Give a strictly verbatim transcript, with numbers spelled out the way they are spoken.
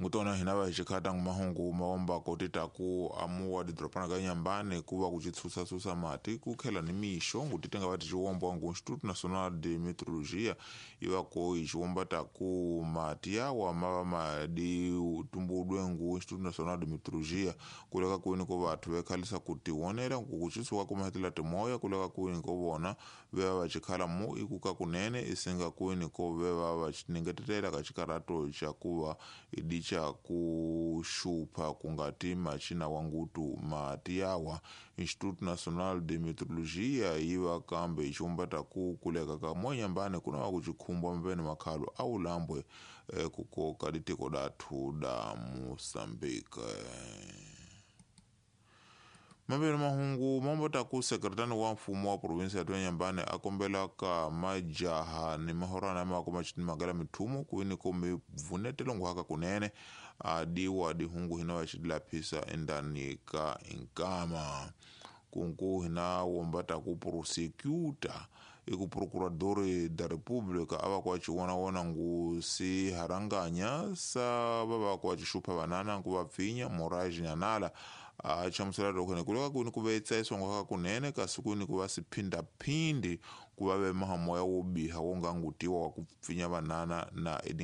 Ngutona hina va hi xikhata mahungu mawombako titaku amuwa didropana ka Nyambane kuva kuchitsusa-tsusa mati kukhela ni mixo ngutitenga vati xiwombwa ngu Instituto Nacional de Meteorologia ivako ixiwomba taku mati yawa mava madi tumbudwe ngu Instituto Nacional de Meteorologia kuleka kwini ko vathu vekhalisa kutiwonela kukuchisuka kumahetela timoya kuleka kwini ko vona veva vachikhala mu ikuka kunene isinga kwini ko veva vachiningetetela ka xikarato xa kuva idicha kuxupha kungati machina wa ngutu mati yawa. Instituto Nacional de Meteorologia yiva kambe ixiwomba ku kuleka ka moya Nyambane kuna va kuchikhumbwa mavene makhalo a ulambwe eh, kukoka ditiko dathu da Moçambique. Maveni mahungu mambota ku sekretani wa mfumo wa provinsi ya Nyambane a kombela ka majaha ni mahorana mako machini magala mithumu kwini ko mivunetelo nguhaka kunene a diwa dihungu hina va xilaphisa endani ka inkama kunku hina wombata ku prosecutor iku procurador da República ava kwa chiwonawona ngu si haranganya sa vava kwa chixupha vanana nku va pfinya Moraes Nyanala a chamusela loko kuleka kuni ku vetsa isongo kunene kasi kuni ku va siphindaphindi ku va ve mahamoya wo biha wo ngangutiwa wa ku pfinya vanana na